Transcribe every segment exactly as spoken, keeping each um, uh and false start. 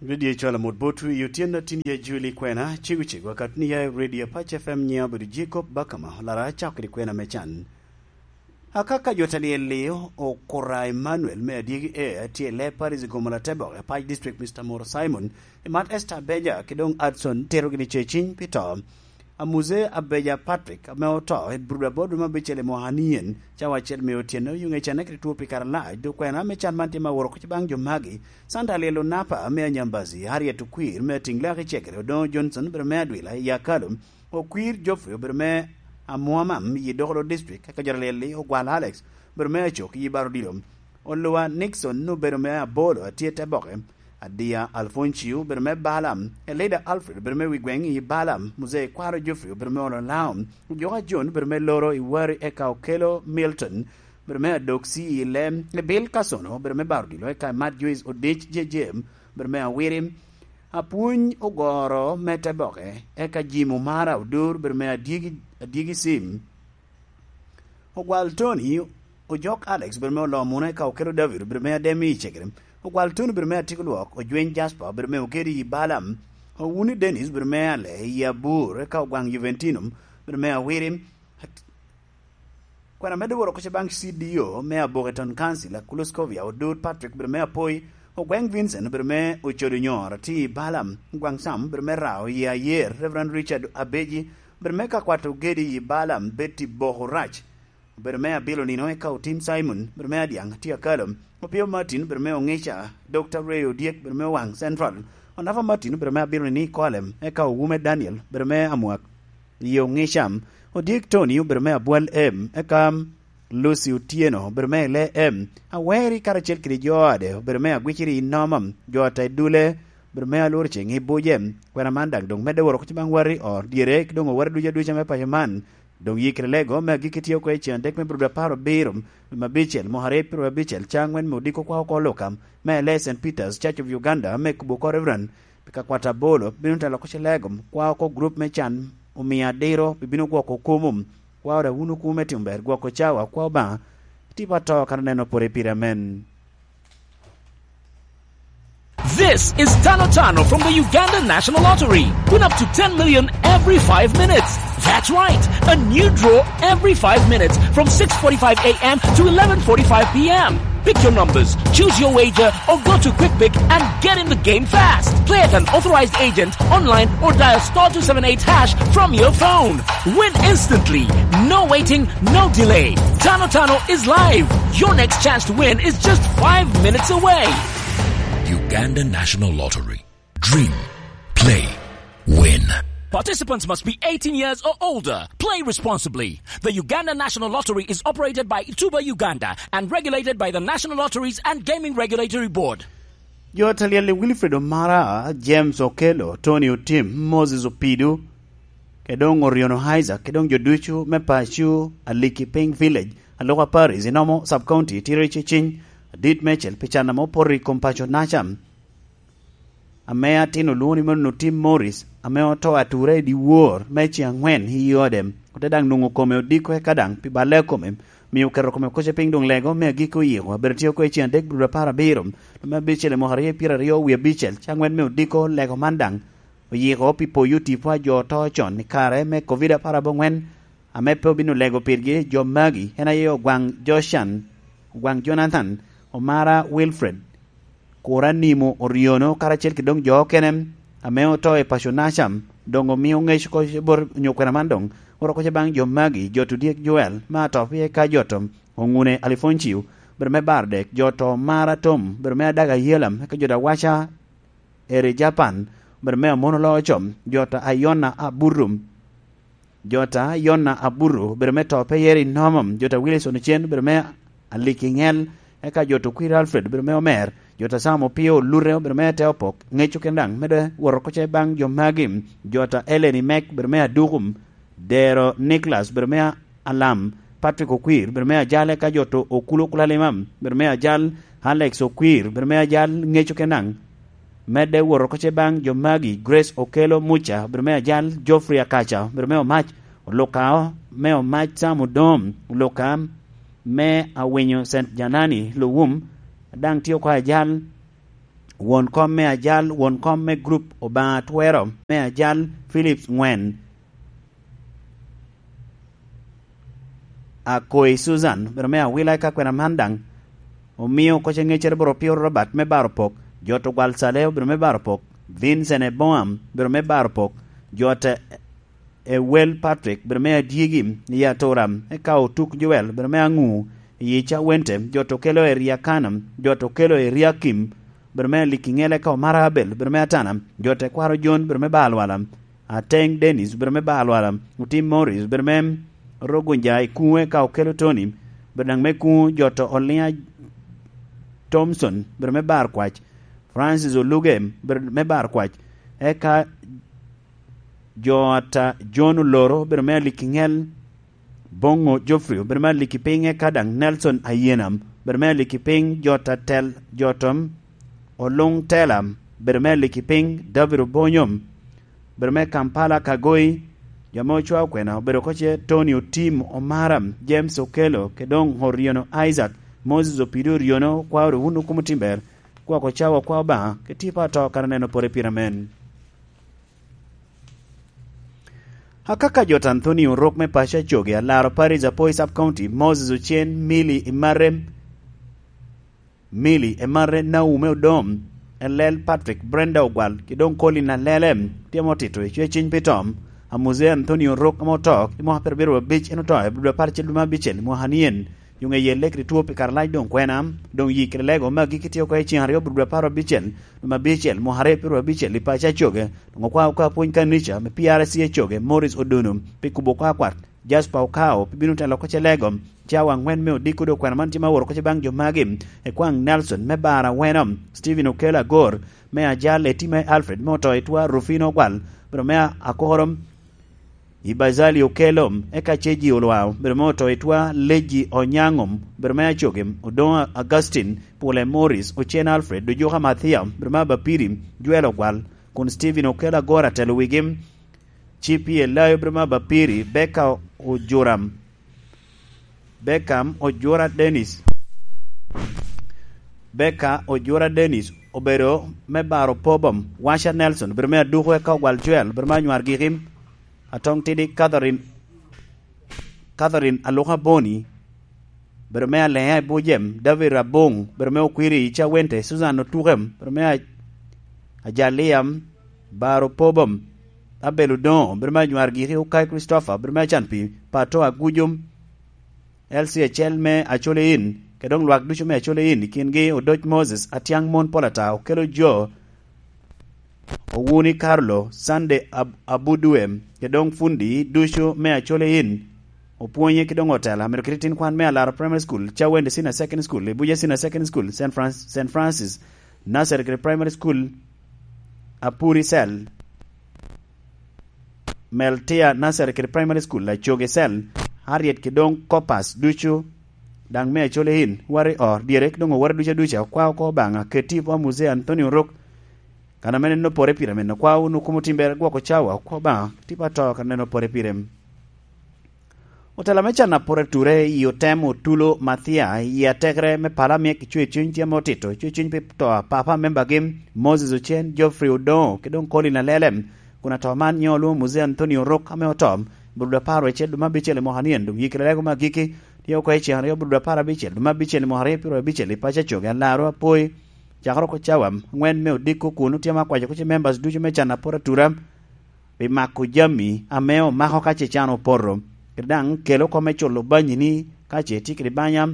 Redio Cwalo Mot Botwi, otyeno atin ya Juli kwena, cego cego akatni ya i Redio Apac F M, nyiŋa obedo Jacob Bakama, olara acako kede kwena me can. Akaka jo talyel-li, Okura Emmanuel me Adyegi A, tye i Leb Parish i Gomola Teboke, Apac District, Mister Moro Simon, Imat Esther Beja, ki doŋ Adson tito gini ce ciny pi to. Amuze Abeja Patrick, ame oto i Bruda Board me abicel i mwaka nien, cawa acel me otyeno, yuŋ ecane kede two pi kare alac, dok kwena me can man tye ma woro kuc baŋ jo magi, Santa Lyel Onapa me Anyambazi, Harriet Okwir me Atiŋ Laki Cegere, Odoŋo Johnson, bere me Adwila, i Akalo, Okwir Geoffrey, obedo me Amuamam, i Dokolo District, eka jo Lyel-li, Ogwal Alex, obedo me Acok, i Baro Odilo, Oluwa Nixon, obedo me Abolo, atye te boke, Adiya Alfoncio, obedo me Balaam, Elida Alfred, obedo me Wigweŋ, i Balaam, Muzee Kwaro Geoffrey, obedo me Olo Laom, Ojoka John, obedo me Loro, i Wari, eka Okelo Milton, obedo me Adoksi, i Lem, Ebil Kasono, obedo me Baro Odilo, eka Mat Joyce Odic, J J M, obedo me Awiri, Apwony Ogoro me Teboke, eka Jim Omara Odur, obedo me Adyegi, Adyegi Sim, Ogwal Tony, Ojok Alex, obedo me Oloo Muna, eka Okelo David, obedo me Ademi i Cegere, Ogwal Tony, obedo me Atiko Lwok, Ojweny Jasper, obedo me Okedi i Balaam, Owuni Dennis, obedo me Ale i Abur, eka Ogwaŋ Juventino, obedo me Awiri, Kwena medde woro kuca baŋ C D O me Aboketon Council, Akuloskovia Odut Patrick, obedo me Apoi, Ogweŋ Vincent, obedo me Ocodo Nyor, atye i Balaam, Gwaŋ Sam, obedo me Rao, i Ayer, Reverend Richard Abeji, obedo me Kakwat Ogedi, i Balaam, Betty Boko Rac, obedo me Abilo Nino, eka Otim Simon, obedo me Adyaŋ, atye Akalo, Opio Martin, obedo me Oŋica, Doctor Ray Odyek, obedo me Owaŋ Central, Onafa Martin, obedo me Abilo Nino, Ikolem, eka Owume Daniel, obedo me Amwak, i Oŋicam, Odyek Tony, obedo me Abwal M, eka Lucy Otyeno, obedo me Ile M, Aweri karacel kede jo ode, obedo me Agwiciri i Nomam, jo ata i Dule, obedo me Alwor Ceŋ i Buce, kwena man daŋ doŋ medde woro kuca baŋ wati or dyere, ki doŋ owati ducu aduca me paco man, doŋ yikere lego me agikki tye oko i cen adek me Bruda apar abiro, me abicel, mwaka aryo pyero abicel, ca aŋwen me odiko kwa oko Lukam, me Ile Saint Peter's Church of Uganda, me kubo oko Reverend, pi ka kwat abolo, bino te loko ce lego, kwa oko grup me can, omio adiro, pi bino gwoko kumu, kwa oda wunu kume timo ber, gwoko cawa, kwa Obaŋa, tipo ato kan oneno pore pire, amen. This is Tano Tano from the Uganda National Lottery. Win up to ten million every five minutes. That's right, a new draw every five minutes from six forty-five a m to eleven forty-five p m. Pick your numbers, choose your wager, or go to Quick Pick and get in the game fast. Play at an authorized agent, online, or dial star two seven eight hash from your phone. Win instantly. No waiting, no delay. Tano Tano is live. Your next chance to win is just five minutes away. Uganda National Lottery. Dream. Play. Win. Participants must be eighteen years or older. Play responsibly. The Uganda National Lottery is operated by Tuba Uganda and regulated by the National Lotteries and Gaming Regulatory Board. Jo talyel i Wilfred Omara, James Okello, Tony Otim, Moses Opido, kede doŋ Oriono Isaac, kede doŋ jo ducu me paco Aliki Piny Village, Aluka Parish, i Nomo Sub-County, tye ri ceciny adit meicel pi can ame opoto i kom paco-naca, ame atin olwoŋo ni mano Otim Morris, ame oto atura i dyewor me ceŋ aŋwen i ode, ote daŋ nwoŋo kome odiko eka daŋ pi balle a kome, omio oketo kome koce piny doŋ lego me agikki oyiko, abedo tye oko i ceŋ adek Bruda apar abiro, lume abicel i mwaka aryo pyeraryo wie abicel, ceŋ aŋwen me odiko lego man daŋ oyiko pi poyo tipo a jo oto con i kare me Covid apar aboŋwen, ame pe obino lego pirgi jo magi, en aye Ogwaŋ Joshan, Ogwaŋ Jonathan, Omara Wilfred, Kura Nimo Oriono, karacel kede doŋ jo okene ame oto i paco-naca, doŋ omio ŋec oko bot onyo kwena man doŋ oroko ce baŋ jo magi, Joto Dyek Joel, me Atop, eka Joto Oŋune Alifoncio, obedo me Bardek, Joto Omara Tom, obedo me Adaga Yelam, eka Joto Awaca Eri Japan, obedo me Amono Loo Com, Joto Ayona Aburum, Jota Yona Aburu obedo me To Peyeri Nomom, Jota Wilson Ocen obedo me Aliki Ŋel, eka Jota Okwir Alfred obedo me Omer, Jota Sam Opio Olute obedo me Te Opok, Ŋeco Kendaŋ, mede woro koce baŋ jo magi, Jota Ellen Imek obedo me Adukum, Dero Nicholas obedo me Alam, Patrick Okwir obedo me Ajale, eka Jota Okulu Kulalimam obedo me Ajal, Alex Okwir obedo me Ajal, Ŋeco Kendaŋ, Medde wot oko ce baŋ jo magi, Grace Okello Muca, obedo me Ajal, Geoffrey Akaca, obedo me Omac, Oluka me Omac Sam Odom, Oluka me Awinyo Saint Janani, Luwum, daŋ tye oko Ajal, Won kom me ajal, won kom me grup Obaŋa Twero me ajal, Philips ŋwen. Akoi Susan, biro me awila i ka kwena man daŋ. Omio koc aŋeccere boro Pio Robert me baro pok, jot ogwal Caleo biro me baro pok, Vincent Eboam biro me baro pok, jot Ewel Patrick biro me adyegi i atura, eka otuk Joel biro me aŋu i Cawente, jot okelo Eriakana, jot okelo Eriakim biro me aliki ŋele, eka omara Abel biro me atana, jot ekwaro Jon biro me ba alwala, Ateng Dennis biro me ba alwala, Otim Morris biro me rogunja i kuŋe, eka okelo Tony biro daŋ me kuŋu, jot Olinya Thompson biro me bar kwac, Francis Oluge biro me bar kwac, eka jo ata John Oloro biro me aliki ŋel, Boŋo Geoffrey biro me aliki piny, eka daŋ Nelson Ayenam biro me aliki piny, jot atel, jot Oluŋ Tela biro me aliki piny, David Obonyo biro me Kampala Kagoi, jo ame ocwao kwena obedo koce Tony Otim, Omara, James Okello, Kedong Oryono, Isaac, Moses Opido Oryono, okwao ru wun okumo timber, gwok ocawa okwa Obaŋa, ke tipo ato kara neno pore pire men. Akaka jot Anthony Orok me paco Acoge, alaro Paris Apoi Sub County, Moses Ocen, Milly Emare, Milly Emare, Naume Odom, Elel Patrick, Brenda Ogwal, ki doŋ Colin Alele, tye ame otito i cweciny pi tom. Amuzea Anthony Orok ame oto i mwaka pyerabiro abic, en oto i abiro apar acel dwe me abicel i mwaka nien. Yo ŋeye Elek ri two pi kare lac doŋ kwena, doŋ yi kede lego me agikki tye oko i cen aryo bur dwe apar abicel, dwe me abicel, mwaka aryo pyeraryo abicel i paco Acoge, doŋ okwao oko apwony kanica me P R C Acoge, Morris Odono, pi kubo oko akwat, Jasper Okao, pi bino telo oko ce lego, cawa aŋwen me odiko doŋ kwena man tye ma oworo oko ce baŋ jo magi, ekwaŋ Nelson me Bar Aweno, Stephen Okel Agor, me Ajal, Etima Alfred, me oto i twa, Rufino Ogwal, bro me Akoro, Ibazali Okello, eka Ceji Olwao, bro me oto i twa, Leji Onyaŋo, bro me Acoge, Odoŋo Augustine, Pule Morris, Ocen Alfred, Ojuka Mathiya, bro me Abapiri, Joel Ogwal, kun Stephen Okello Agor atelo wigi, Cipi Elayo, bro me Abapiri, Beka Ojuram, Beckham Ojura Dennis, Beka Ojura Dennis obedo me baro Pobom, Washa Nelson obedo me aduko, eka Ogwal Joel obedo me anywar giki, Atong Tidi Catherine, Catherine Aluka Boni obedo me Alea i Bujem, David Rabong obedo me Okwiri i Cawente, Susan Otukem obedo me Aj-, Ajalia, Baro Pobom, Abel Odoŋo obedo me anywar giki, Okai Christopher obedo me Acanpi, Pato Agujum, L C acel me Acholi In, kede doŋ lwak ducu me Acholi In, i kingi Odoc Moses, Atiaŋ Mon Polata, Okelo Jo, Owuni Carlo, Sunday Ab-, Abudue, kede doŋ fundi ducu me Acholi In, opwonye ki doŋ otela, myero kite tin kwan me Alaro Primary School, Cawende Senior Secondary School, Ibuja Senior Secondary School, Saint Franc-, Saint Francis Nursery kede Primary School, Apuri Cell, Meltia Nursery kede Primary School, Acoge Cell, Harriet kede doŋ Corpus ducu, daŋ me Acholi In, Wari Or, dyere ki doŋ owore ducu aduca, okwa oko Obaŋa, keti i bwo Muzee Anthony Orok, kan ame neno pore pire men, okwa wunu kumo timber gwoko cawa, okwa Obaŋa, tipo ato kan neno pore pire. Otela me can apor ature i otem Otulo Mathia i atekere me pala myek i Cwecwiny tye ame otito Cwecwiny pi to a papa membagi Moses Ocen, Geoffrey Odoŋo, ki doŋ Colin Alele, kun ato man nyo olwoŋo Muzee Anthony Orok ame oto, bur dwe apar wecel dwe me abicel i mwaka nien, doŋ yikere lego me agikki tye oko i cen aryo bur dwe apar abicel dwe me abicel i mwaka aryo pyeraryo abicel i paco Acoge, Alaro Apoi, cakere oko cawa aŋwen me odiko kun otye ame akwaco kuc i members ducu me can apor atura, pi mako jami ame omako ka ce can opoto, kede daŋ kelo oko me culo banyini ka ce itye kede banya.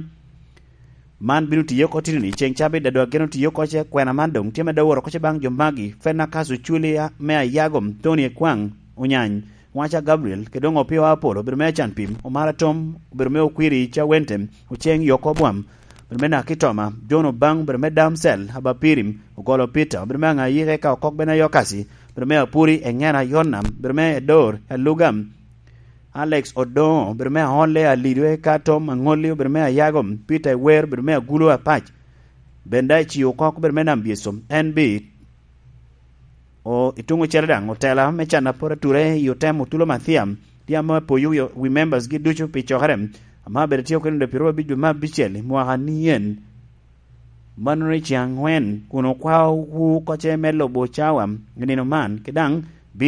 Man bino tiye oko titini i ceŋ cabit, ado ageno tiye oko ce kwena man doŋ tye medde woro oko ce baŋ jo magi, Fenakaso Culia me Ayago, Tony Ekwaŋ Onyany, Waca Gabriel, kede doŋ Opio Apolo, obedo me Acan Pim, Omara Tom, obedo me Okwiri Cawente, Oceŋ Yoko Bwam, obedo me Nakitoma, John Obaŋ, obedo me Damsel, Abapirim, Ogolo Peter, obedo me Aŋayike ka Okok Bene Ayokasi, obedo me Apuri, Eŋena Yonna, obedo me Edor, Aluga, Alex Odoŋo, obedo me Aolle, Alido eka Tom Aŋolli, obedo me Ayago, Peter Ewer, obedo me Agulo Apac, Benda Eci Okok, obedo me Nam Byeso, N B, o, i tuŋ ocele daŋ, otela me can apor ature i otem Otulo Mathiam, tye ame apoyo wi, wi members gi ducu pi cokere, ame abedo tye okene dwe pyeraryo abic dwe me abicel i mwaka nien. Mano i ciŋ aŋwen, kun okwao wu kocce me lubo cawa i nino man, ke daŋ